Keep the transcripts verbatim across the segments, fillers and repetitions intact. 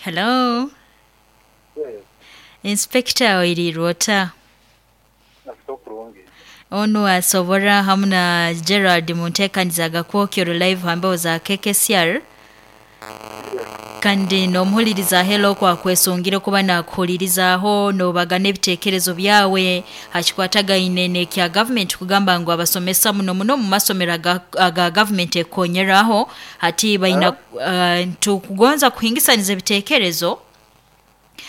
Hello. Inspector oirirwe ota? Onu asobora hamu na Gerald munteekaniza Gakwokyo live hambeho za K K C R. Kandi n'omuhuliriza hello kwa kwesungire kuba nakuhulirizaho n'obagana ebiteekerezo byawe hakikwatagaine n'ekya government kugamba ngu abasomesa muno muno mu masomero aga, aga government ekonyeraho hati baina uh, tukugonza kuhingisaniza ebiteekerezo.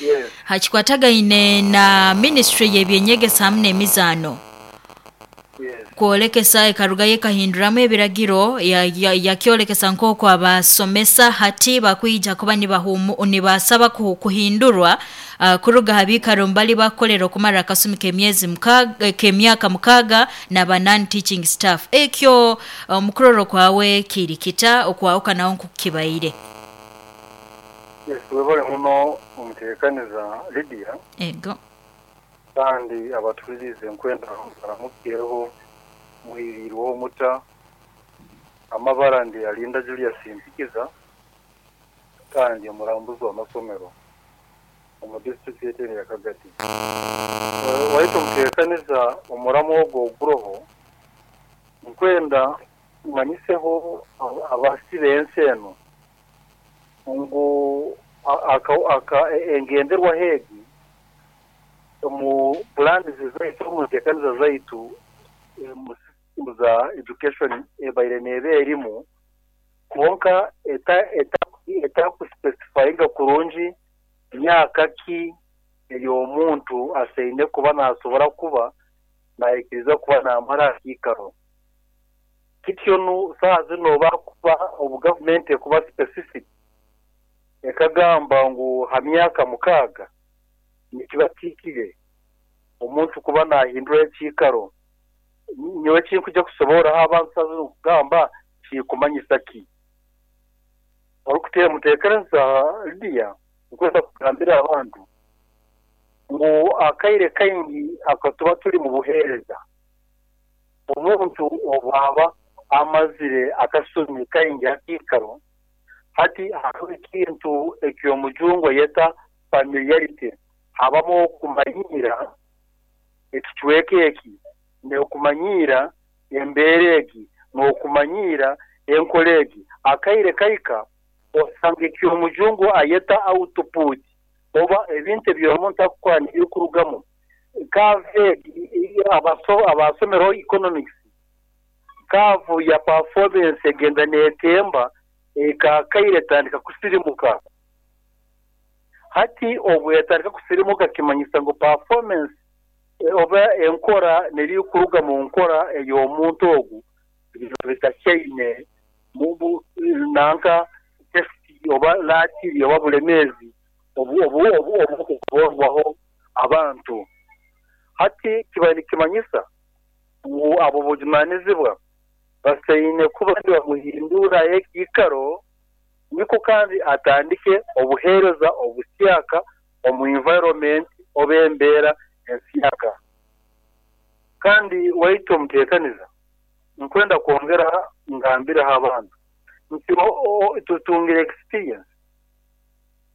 Yes. Hakikwatagaine na ministry y'ebyenyegesa hamu n'emizaano. Yes. Kwolekesa ekarugayo ekahinduramu ebiragiro yakyolekesa ya, ya nk'oku abasomesa hati bakwija kuba nibasaba kuhindurwa uh, kuruga ha biikaro mbali bakukolera okumara akasumi k'emyezi mukaaga k'emyaka mukaaga n'aba non teaching staff. Ekyo omukuroro uh, kwawe kiri kita okwawukanaho nkukibaire. Yes, webale muno omuteekaniza Lydia. Ego. Kandi abatulirize nkwenda baramukireho muhirirweho muta amabara ndi Alinda Julius Mpikiza kandi omurambuzi w'amasomero omu district ya Kagadi. Waitu omuteekaniza omuramu ogwo oguroho nkwenda manyiseho abasi b'ensi eno ngu engenderwa hegi mu plans zaitu mu nteekaniza zaitu mu za education ebaire neebe erimu kwonka etakuspecifyinga kurungi myaka ki ey'omuntu aseine kuba nasobora kuba nayikiriza kuba namara akiikaro. Kityo nu saaha zino bakuba obu gavumenti ekuba specific ekagamba ngu ha myaka mukaaga nikiba kiikire omuntu kuba nahindura ekiikaro. Nyowe kinkuja kusoboraho abantu saaha zino kugamba kikumanyisa ki. Orikuteera muteekereza Lydia nkwenda kugambira abantu ngu akaire kaingi akatuba turi mu buheereza omuntu obwaba amazire akasumi kaingi akiikaro hati hariho ekintu eky'omujungu yeta familiarity habamu okumanyira ekicweka eki n'okumanyira embeera egi n'okumanyira enkora egi. Akaire kaika osanga eky'omujungu ayeta output oba ebintu eby'omuntu akukora nibikurugamu. Kave abasomero economics kavu ya performance egenda neetemba ekakaire etandika kusirimuka. Hati obu yatandika kusirimuka kimanyisa ngu performance oba enkora nerikuruga mu nkora ey'omuntu ogu bitakyaine nanka test oba laatiri oba bulemeezi obu obu obu obukuborwaho abantu. Hati kiba nikimanyisa ngu abo bujunaanizibwa baseine kuba nibamuhindura ekiikaro niko kandi atandike obuheereza obusyaka omu environment oba embeera ensyaka. Kandi waitu omuteekaniza nkwenda kwongera ngambiraho abantu nti tutungire experience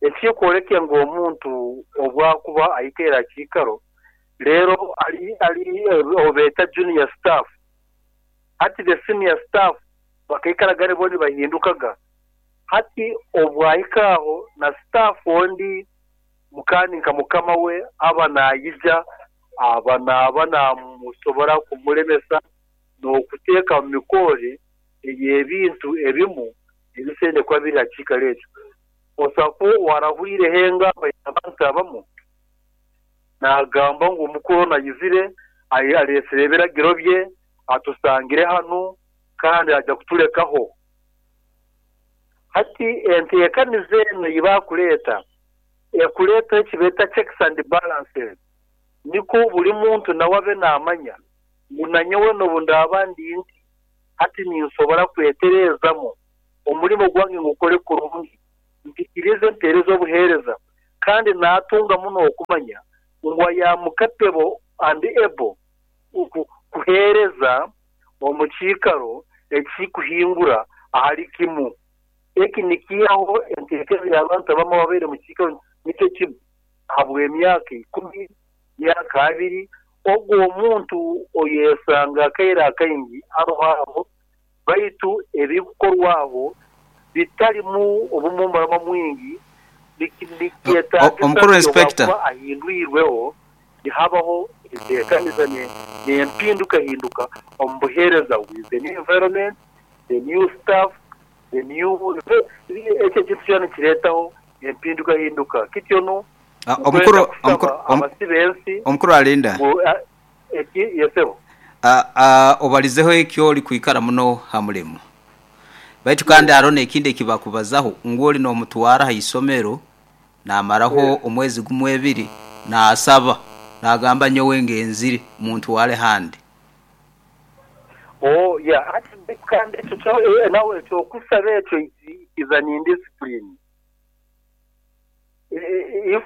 ekikworeka ngu omuntu obwakuba aikeera akiikaro leero ali ali obeeta junior staff. Hati the senior staff bakaikaraga nibo nibahindukaga. Hati obwahikaaho na staff ondi mukandi nka mukama we aba naayija aba naaba namusobora kumulemesa n'okuteeka mu mikore ey'ebintu ebimu ebisende kuba biri hakiikaro ekyo. Osaku warahurireho engamba abantu abamu naagamba ngu omukuru nayizire aleesire ebiragiro bye atusangire hanu kandi aja kutulekaho. Hati enteekaniza eno ei bakuleeta ekuleeta ekibeeta checks and balances niko buli muntu nawe abe naamanya ngu nanyowe n'obu ndaaba ndi nti hati ninsobora kwetereezamu omurimo gwange ngukore kurungi mpikirize mpeereze obuheereza kandi naatunga muno okumanya ngu ayamukatebo and able kuheereza omu kiikaro ekikuhingura ahali kimu. Eki nikiihaho enteekerezo y'abantu abamu ababaire mu kiikaro nikyo kimu habw'emyaka ikumi, myaka abiri. Ogwo omuntu oyesanga akaire akaingi aroho aho, baitu ebikukorwaho bitarimu obumumbarama mwingi. Nikyetaagisa Omukuru inspector kuba ahindwirweho, nihabaho enteekaniza n'empindukahinduka omu buheereza with the new environment, the new staff, the new ekyo ekintu kyona nikireetaho empindukahinduka. Kityo nu omukuru abasi b'ensi omukuru alinda eki yesebo obalizeho ekyo oli kwikara muno ha mulimo, baitu kandi hariho n'ekindi ekibakubazaho ngu oli n'omutwara ha isomero, namaraho omwezi gumu, ebiri, naasaba, nagamba, "Nyowe ngenzire, muntwale handi." Oh yeah, ati kandi ekyo kyo nawe ekyokusaba ekyo is an indiscipline. If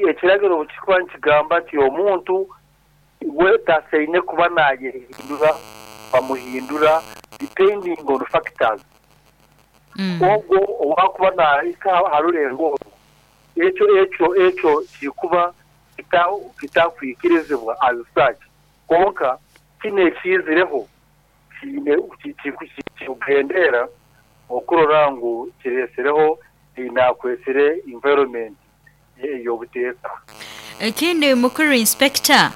ekiragiro kikuba nikigamba nti omuntu we tasaine kuba nayehindura, bamuhindura depending on factors, ogwo owakuba nahika ha rurengo orwo, ekyo ekyo ekyo kikuba kitakwikirizibwa as such. Konka kino ekiizireho kiine kikugendera okurora ngu kireesereho nakwesere environment ey'obuteeka. Ekindi, mukuru inspector,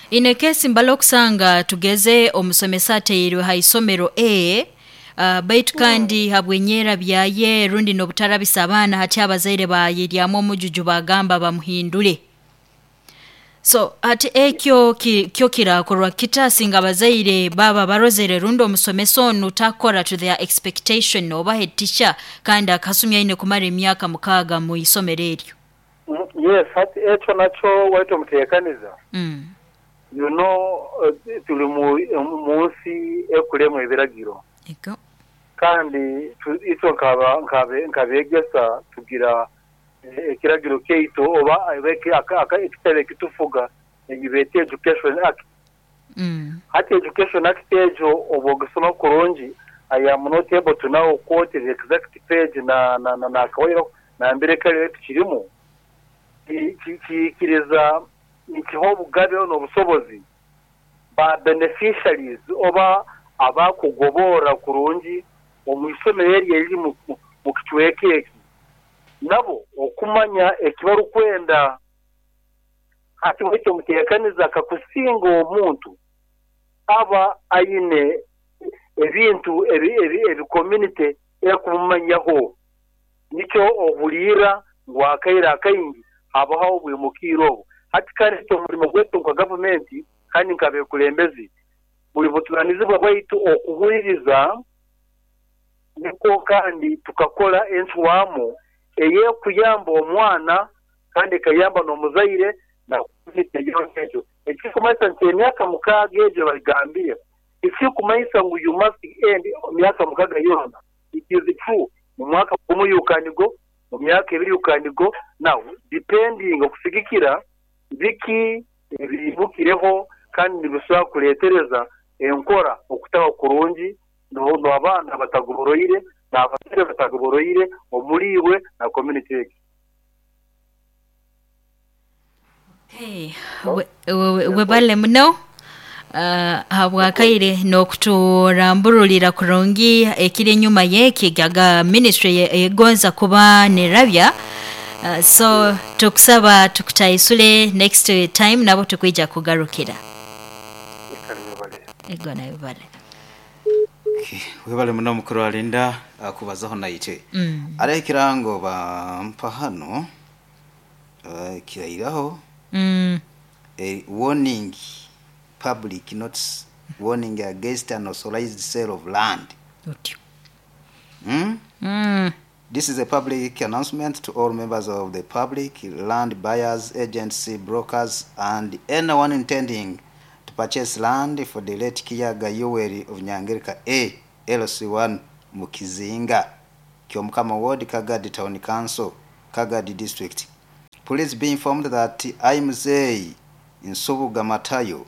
ine kesi mbala okusanga tugeze omusomesa ateirwe ha isomero A, uh, baitu kandi habwenyera byaye rundi n'obutarabisa abaana, hati abazaire bayiryamu omujuju, bagamba bamuhindure. So hati ekyo ki, kyo kirakorwa kita singa abazaire baba barozere rundi omusomesa onu takora to their expectation, oba head teacher, kandi akasumya aine kumara emyaka mukaaga mu isomero eryo? Yes, hati ekyo nakyo waitu omuteekaniza, mm. you know tuli mu munsi ekulemu ebiragiro. Ego. Kandi itwe nk'abeegesa tugira ekiragiro kyaitu oba ekitebe ekitufuga egibeeta Education Act. mm. Hati Education Act egyo oba ogisoma kurungi, I am not able to now quote the exact page na na na nakawairo nambere kale tukirimu, kikiriza nikiha obugabe n'obusobozi ba beneficiaries oba abakugobora kurungi omu isomero eryo eriri mu kicweka eki, nabo okumanya ekibarukwenda. Hati ekyo muteekaniza, kakusinga omuntu aba aine ebintu ebi ebi ebi community ekumumanyaho, nikyo ohuliira ngu akaire akaingi habaho obwimukiire obu. Hati kandi omurimo gwaitu nka gavumenti kandi nk'abekulembezi, buli buturanizibwa bwaitu okuhuliriza, niko kandi tukakora encwamu eyekuyamba omwana kandi ekayamba n'omuzaire na community yona. Ekyo ekikumanyisa nti emyaka mukaaga egyo bagambire, ekikumanyisa ngu you must end emyaka mukaaga yona. It is true, mu mwaka gumu you can go, mu myaka ebiri you can go. Now depending okusigikira biki ebimukireho kandi nibisobola kuleetereza enkora okutaba kurungi, n'abaana batagoboroire n'abazaire batagoboroire omuriiwe na community egi. Hey, webale muno uh, habwakaire n'okuturamburulira kurungi ekiri enyuma y'eki gaga ministry egonza kuba nerabya. uh, so tukusaba tukutaisule next time nabo tukwija kugarukira. Ego nayo bale. Webale muno mukuru alinda kubazaho naite. mm. Ari ekirango bampa hano, uh, kirairaho mm. a warning, public notice warning against unauthorized sale of land. Otyo. mm? mm. This is a public announcement to all members of the public, land buyers, agency, brokers, and anyone intending to purchase land for the late Kiyaga Yoweri of Nyangerika A, L C one, Mukizinga, Kyomukama Ward, Kagadi Town Council, Kagadi District. Please be informed that I'm Zey Nsubuga Matayo.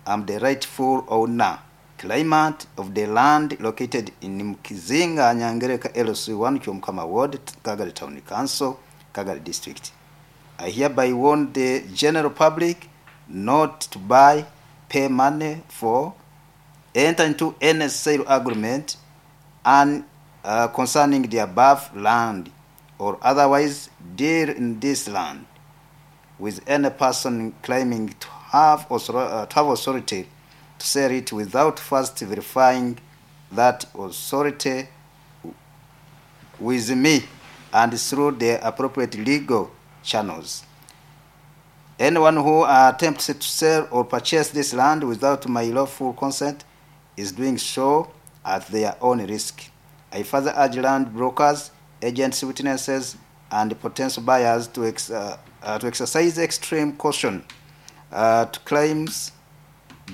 I'm the rightful owner claimant of the land located in Mkizinga, Nyangereka L C one, Kyomukama Ward, Kagadi Town Council, Kagadi District. I hereby warn the general public not to buy, pay money for, enter into any sale agreement and uh, concerning the above land or otherwise deal in this land with any person claiming to have, uh, to have authority to sell it without first verifying that authority with me and through the appropriate legal channels. Anyone who attempts to sell or purchase this land without my lawful consent is doing so at their own risk. I further urge land brokers, agents, witnesses, and potential buyers to, ex- uh, uh, to exercise extreme caution uh, to claims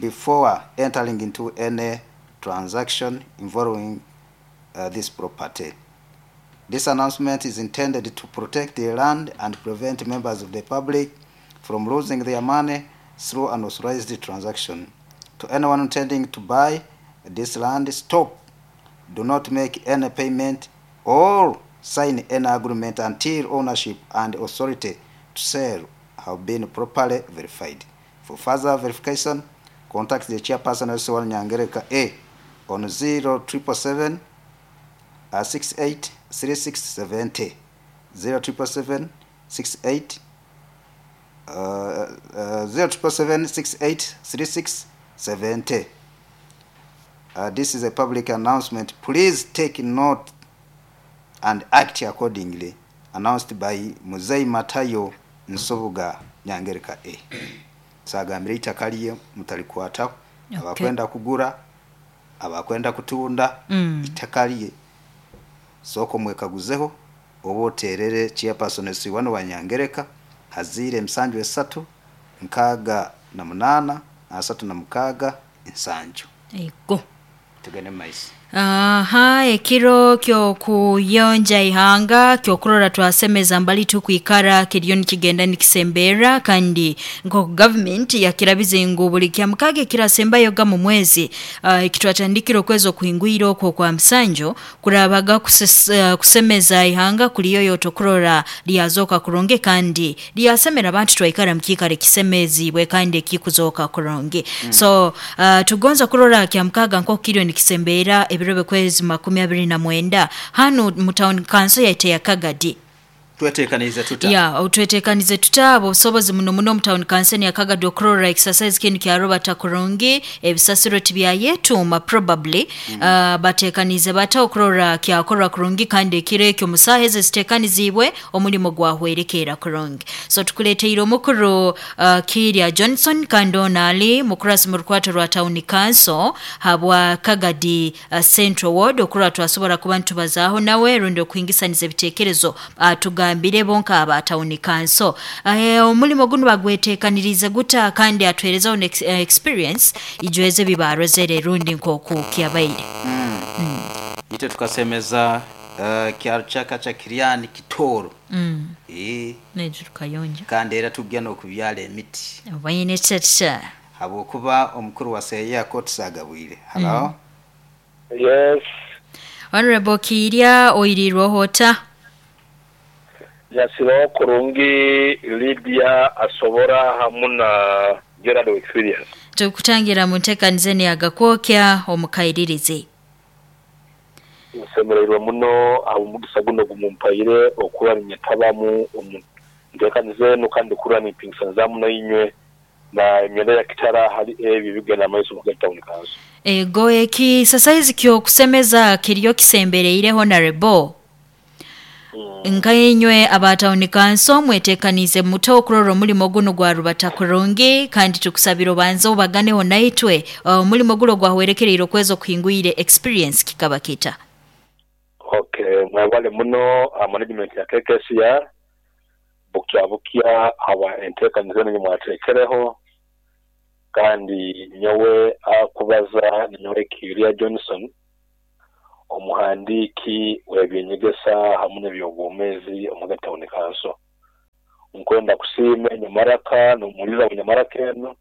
before entering into any transaction involving uh, this property. This announcement is intended to protect the land and prevent members of the public from losing their money through unauthorized transaction. To anyone intending to buy this land, stop. Do not make any payment or sign any agreement until ownership and authority to sell have been properly verified. For further verification, contact the chairperson of L C one Nyangereka A on zero triple seven six eight three six seventy, zero triple seven six eight uh, uh, zero triple seven six eight three six seventy. Uh, this is a public announcement. Please take note and act accordingly. Announced by Muzei Matayo Nsobuga Nyangereka A. Sagambire itaka lye mutalikwata, okay. Abakwenda kugura, abakwenda kutunda, mm. Itaka lye soko mwekaguzeho oba oterere chairperson L C one wa Nyangereka hazire emsanju esatu nkaaga na munaana asatu na mukaaga ensanju. Ego tugende maiso. Aha, ekiro kyo kuyonja ihanga kyokurora twasemeza mbali tukwikara kiriyo nikigenda nikisembera kandi nko government yakirabize ngu buli kyamukage kirasembayo ga mu mwezi uh, ekitwatandikiro kwezo kuhingwiro okwo kwa msanjo kurabaga kuses, uh, kusemeza ihanga kuliyo yotokurora lyazoka kuronge kandi lyasemera abantu twaikara mkikare kisemezi bwe kandi kikuzoka kuronge. mm. So uh, tugonza kurora kyamukaga nko kiriyo nikisembera ebirobe kwezi makumi abiri na mwenda hano mu town council yaite ya Kagadi twetekanize tuta ya otwetekanize tuta obusobozi muno muno mu town council ya Kagadi okurora exercise kinu kya Robert Kurungi ebisasiro tibya yetuma probably. mm. uh, batekanize bata okurora kyakorwa kurungi kandi ekiro ekyo musaheze zitekanizibwe omulimo gwahwerekera kurungi. So tukuleteire omukuru uh, Kiria Johnson kandi ali mukurasi mu rukwato rwa town council habwa Kagadi uh, Central Ward okurora twasobora kuba ntubazaaho nawe rundi okuingisaniza ebitekerezo uh, tugambire bonka aba town council eh omulimo guno bagwetekanirize guta kandi atwereza on ex experience ijweze bibarozere rundi nkoku kyabaire. mm. mm. Ite tukasemeza uh, kyaro cha Kiriani Kitoro. mm. eh nejo tukayonja kandi era tugya no kubyala emiti bayine chacha habokuba omukuru wa seya kotsagabwire. Hello. mm. Yes, Honorable Kiria oirirwo hota yasiro kurungi Lydia asobora hamuna Gerard experience tukutangira muntekanizeni agakwokya omukairirize nsemererwa muno abumugisa guno gumumpayire okuba nyetabamu omuntekanizeni kandi kurani pingisa muno inywe na emyenda ya kitara hali ebi bigenda maiso mu town council. Ego eki sasa hizi kyo kusemeza kiriyo kisembereire honorable nkayenywe aba town council mwetekanize muto okurora omulimo guno gwa Rubata kurungi kandi tukusabira obanze obaganeho naitwe omulimo uh, gulo gwahwerekereire okwezo kuhingwire experience kikaba kita. Okay, mwabale muno uh, management ya K K C R bukya bukya aba entekanize ni mwatekereho kandi nyowe akubaza nyowe Kiria Johnson omuhandiki w'ebyenyegesa hamwe n'ebyobwomezi omu town council. Nkwenda kusiima Nyamaraka n'omuliza wa Nyamaraka eno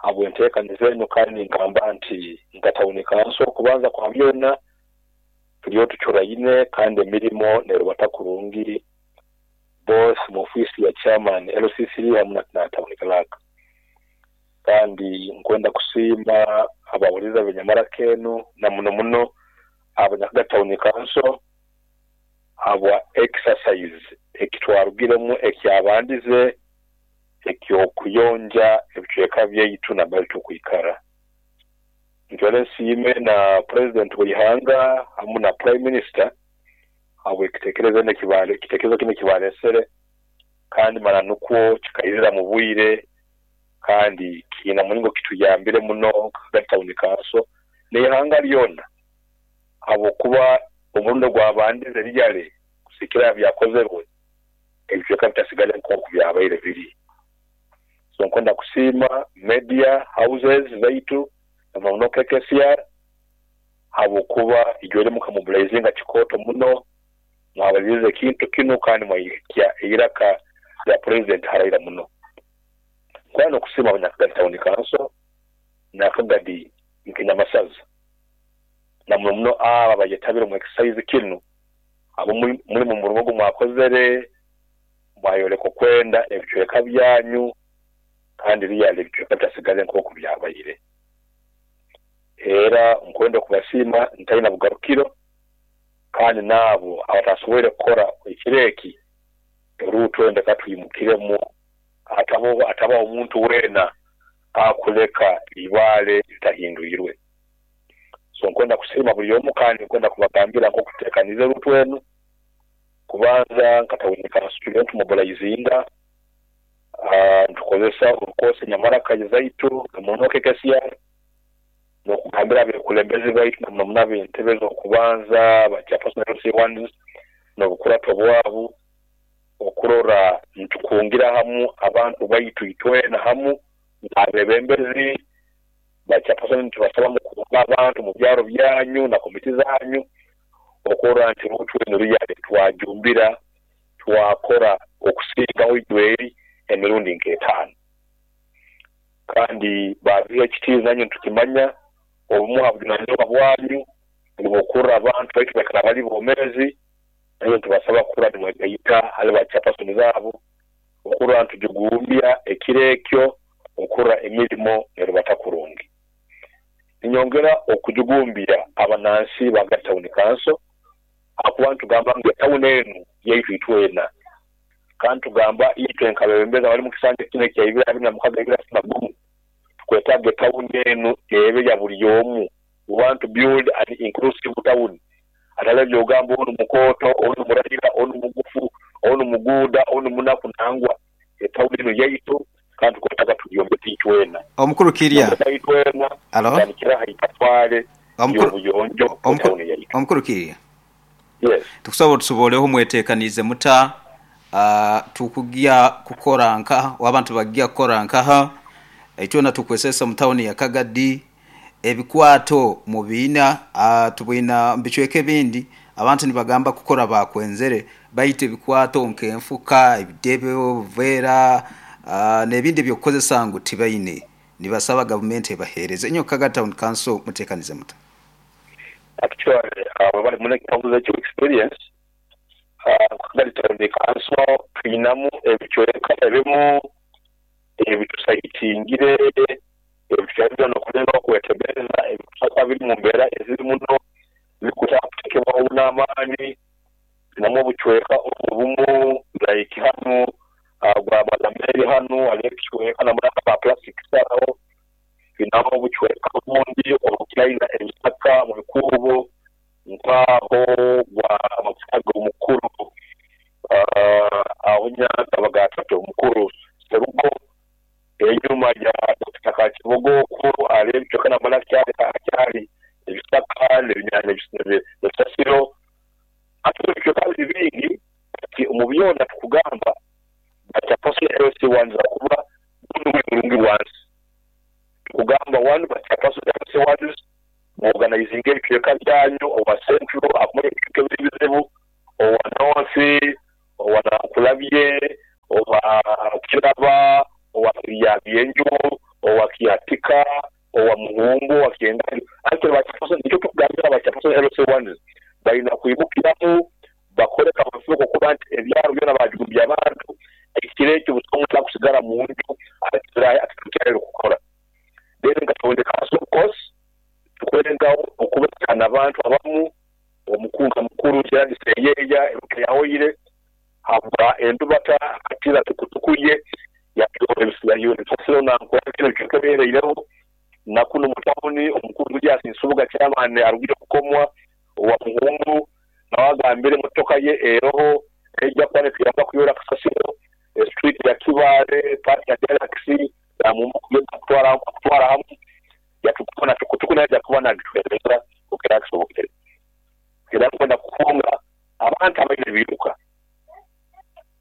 Habwenteekaniza eno kandi nkamba nti nka tawuni kanso kubanza kwa byona turiyo tucuraine kandi emirimo nerubata kurungi both mu ofisi ya chairman L C C hamwe na tawuni clerk. Kandi nkwenda kusiima abawuliza benyamara kenu na muno muno abanyakaga tawuni kanso habwa exercise ekitwarugiremu ekyabandize ekyokuyonja ebicweka byaitu nambere tukwikara. Ntwale nsiime na president w'ihanga hamwe na prime minister habwe ekitekerezo nekibale ekitekerezo kino kibalesere kandi mara nukwo kikairira mu bwire kandi kina mulingo kituyambire muno Kagadi tawuni kanso n'ihanga lyona habwokuba omurundo gwabandize rijale kusikira byakozerwe ebicweka bitasigale nk'oku byabaire biri. So nkwenda kusiima media houses zaitu na K K C R habwokuba ijwere mukamobilizinga kikoto muno mwabalize kintu kino kandi mwaikia iraka ya president haraira muno. Kwano kusiima abanyakagadi tawuni kanso na Kagadi nkinyamasaza na muno muno aba bayetabire mu exercise kino abo muri mu murugo mwakozere mwayoleka kwenda ebicweka byanyu kandi riyale ebicweka bitasigale nk'oku byabaire. Era nkwenda kubasiima ntalina bugarukiro kandi nabo abatasoboire kukora ekireki erutwende katuyimukiremu atabo ataba omuntu wena akuleka ibale litahindwirwe. So nkwenda kusiima buli omu kandi nkwenda kubagambira nk'okuteekaniza erutwenu kubanza nkatawunika student mobilizinga uh, ntukozesa orukosi nyamaraka zaitu muno K K C R n'okugambira abekulembeze baitu na muno muno ab'entebe z'okubanza ba chairperson L C ones n'obukurato bwabu okurora ntukungira hamu abantu baitu itwena hamu abebembezi ba chairperson tubasaba mukunga abantu mu byaro byanyu na komiti zanyu okurora nti rutwenu ruyale twajumbira twakora okusingaho ijweri emirundi nk'etaano. Kandi ba V H T nanyu tukimanya obumu habunanizibwa bwanyu nibukurra abantu baitu bakaba bali bomezi nayo tubasaba kura nimwegayita hali ba chairperson zabo okurra ntujugumbya ekirekyo okurra emirimo nerubata kurungi. Ninyongera okujugumbya abanansi ba tawuni kanso akuba ntugamba ngu tawuni enu yaitu itwena kandi tugamba itwe nkabebembeza bali mu kisanja kino ekya ibiri abiri na mukaga ibiri asatu na gumu tukwetaaga tawuni enu ebe ya buli omu. We want to build an inclusive town. Atale byogamba onu mukoto onu murahira onu mugufu onu muguda onu munaku nangwa etawuni enu yaitu kandi tukwetaaga tuyombeke itwena. Omukuru Kirya itwena alo kira haitwale y'obuyonjo etawuni yaitu. Omukuru Kirya, yes, tukusaba tusoboleho mwetekanize muta uh, tukugia kukora nkaha wabantu bagia kukora nkaha itwena tukwesesa mu tawuni ya Kagadi ebikwato mu biina uh, tubwina mbicweke bindi abantu nibagamba kukora bakwenzere bayite ebikwato nkenfuka ebidebe obuvera uh, n'ebindi byokukozesa ngu tibaine nibasaba government ebahereze enyo Kagadi Town Council mutekanize muta. Actually abo bali mune kitambuza ekyo experience uh, Kagadi Town Council tuyinamu ebicweka ebimu ebitusaitingire ebicweka n'okulenga okwetegereza ebicweka biri mu mbeera eziri muno bikutakutekebwaho n'amaani namu obucweka obumu like hanu gwa Malameri hanu hariho ekicweka namuraka ba plastic saraho binamu obucweka obundi obukiraina ebisaka mu bikubo nkaho gwa amafuta omukuru aho Nyakabagatatu omukuru Serugo enyuma ya Doctor Kakibogo okuru hariho ebicweka namara kyali ebisaka n'ebisasiro ate ebicweka biri bingi ati omu byona tukugamba bachairperson L C ones akuba guno guli mulungi wansi tukugamba one bachairperson L C ones muorganizinga ebicweka byanyu owa central akumanya ebicweka ebiri bizibu owa north owa Nankulabye owa Kiraba owa Kiryabyenju owa Kiatika. Bakimukiramu bakore kabafuko kuba nti ebyaro byona bajumbya abantu ekiro ekyo busobola kusigara mu nju atakira atakyali kukora. Then nga tawuni council of course tukwerengaho okubekana abantu abamu omukunga mukuru Gerard Seyeya eruka yahoire habwa endubata akatira tukutukuye yayo na nkwakira kikeberereho nakuno mutawuni omukuru Julius Nsubuga chairman arugire kukomwa wa muhungu nawagambire motoka ye eroho ejja kwane kuyamba kuyora kasasiro street ya Kibale park ya Galaxy ya mumu kugenda kutwara kutwara hamu yatukona tukutukuna ya kuba na gitwereza okerakisobokere era kwenda kufunga abantu abaine biruka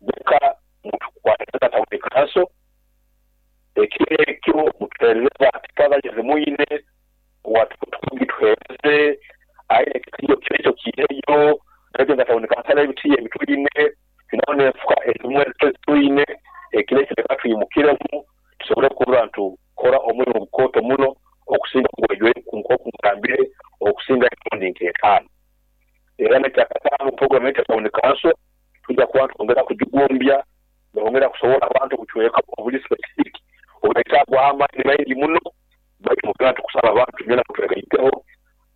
buka mutukwatata tawuni kanso ekiro mutuhereza tikaza muine watukutukugitwereze aine kitiyo kirecho kireyo ndetse tawuni kanso ebitiye bituyine finone fuka ezimwe tuyine ekirecho katuyimukiremu tusobole kuba ntu kora omulimo bukoto muno okusinga kugwejwe kunkoku mukambire okusinga emirundi nk'etaano. Era nekyakataano program ya tawuni kanso tujja kuba twongera kugigumbya nongera kusobola abantu kuchweka obuli specific obwetagwa amaanyi maingi muno baitu mugenda tukusaba abantu byona kutwegaiteho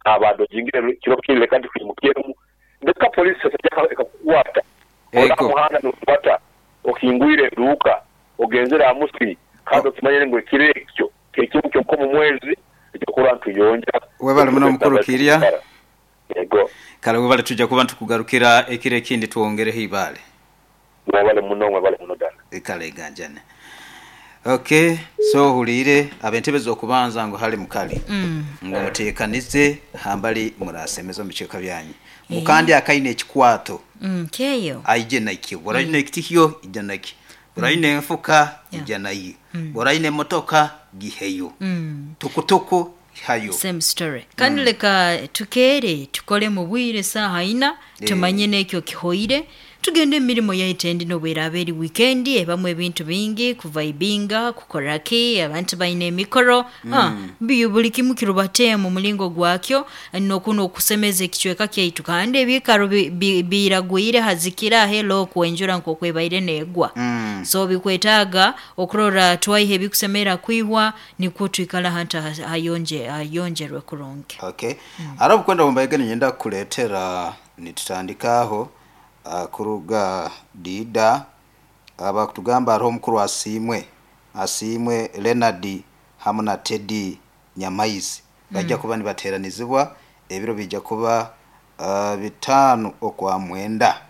abado jingire kiro kile kandi kuyimukiremu ndeka polisi sasa ekakukwata omuhanda n'okwata okingwire eduuka ogenzera amusi kandi okimanyire ngu ekiro ekyo ekimu kyonka mu mwezi ekyokuba ntuyonja. Webale muno mukuru Kirya. Yego. Kale webale tujja kuba ntukugarukira ekiro ekindi tuwongereho ibale. Webale muno webale muno dala. Kale ganjane. Okay, so hulire abentebe zokubanza ngo hali mukali. Mm. Ngo mutekanize hambali murasemeza mu byanyu. Mukandi akaine ekikwato. Mm, keyo. Aije naki. Boraine ekitihiyo ija naki. Boraine enfuka ija nayi. Boraine motoka giheyo. Mm. Tukutuku hayo. Same story. Kandi leka tukere tukole mu bwire saha ina tumanye nekyo kihoire tugende emirimo yaitendi nobweraberi weekend ebamwe ebintu bingi kuvaibinga kukoraki abantu baine emikoro mm. ah biyu buli kimu kirubate mu mulingo gwakyo nokuno okusemeza ekichweka kyaitu kandi ebikaro biragwire hazikira hello kuenjura nkokwebaire negwa mm. So bikwetaga okurora twaihe bikusemera kwihwa nikwo twikala hanta hayonje hayonjerwe kuronke. Okay. Mm. Arabu kwenda mbaigeni nyenda kuletera nitutandikaho Uh, kuruga dida abakutugamba uh, aroho mukuru asimwe asimwe Leonard hamwe na Teddy Nyamaizi bajja mm. kuba nibateranizibwa ebiro bijja kuba uh, bitano okwa mwenda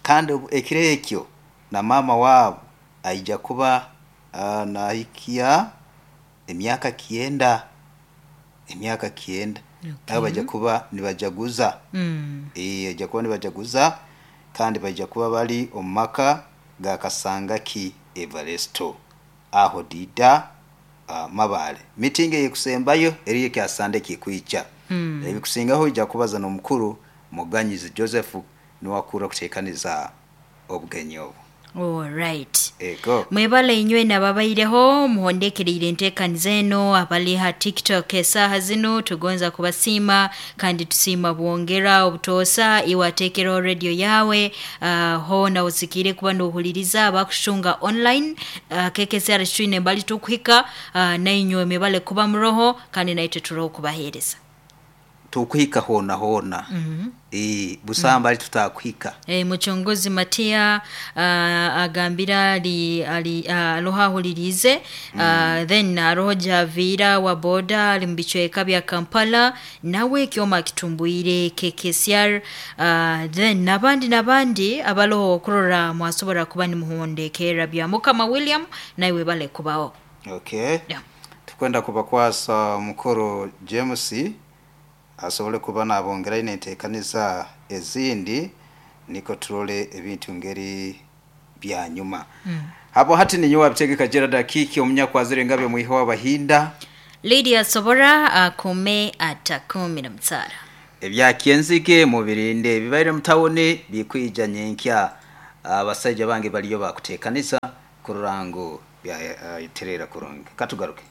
kandi ekiro ekyo na mama wabo aija kuba uh, nahikia emyaka kienda emyaka kienda okay. Bajja kuba nibajaguza mm. eh ajja kuba nibajaguza kandi bajja kuba bali omumaka ga Kasangaki Everesto aho dida uh, mabale meeting yekusembayo eriye kya Sunday kikwicha mm. Ebikusingaho ija kubaza no mukuru Muganyizi Joseph niwakura kutekaniza obugenyi obu. All right. Ego. Mwebale inywe nababaireho muhondekereire enteekaniza eno abali ha TikTok esaha zino tugonza kubasiima kandi tusiima bwongera obutoosa iwateekeraho radio yawe uh, hona osikire kuba nohuliriza abakushunga online uh, K K C R twine mbali tukuhika uh, nainywe mwebale kuba muroho kandi naitwe turoho kubaheereza tukuhika hona hona. Mm -hmm. E, busamba mm. tutakuhika. E, muchongozi Matia uh, agambira ali ali uh, aloha hulirize mm. uh, then aroho Javira wa boda ali mbichweka bya Kampala nawe kyoma kitumbuire K K C R uh, then nabandi nabandi abaloho kurora mwasobora kuba ni muhondekera bya Mukama William nawe bale kubao. Okay. Yeah. Tukwenda kubakwasa mukuru James asobole kuba nabongera inenteekaniza ezindi niko turole ebintu ngeri bya nyuma. Mm. Hapo hati ni nyuwa bitegeka Gerard Akiki omunyakwazire ngabye mwiho w'abahinda Lydia Sobora akome atakumi na mtsara. Ebya kienzike mubirinde bibaire mutawone bikwija nyenkya abasajja bange baliyo bakuteekaniza kururango bya uh, iterera kurungi. Katugaruke.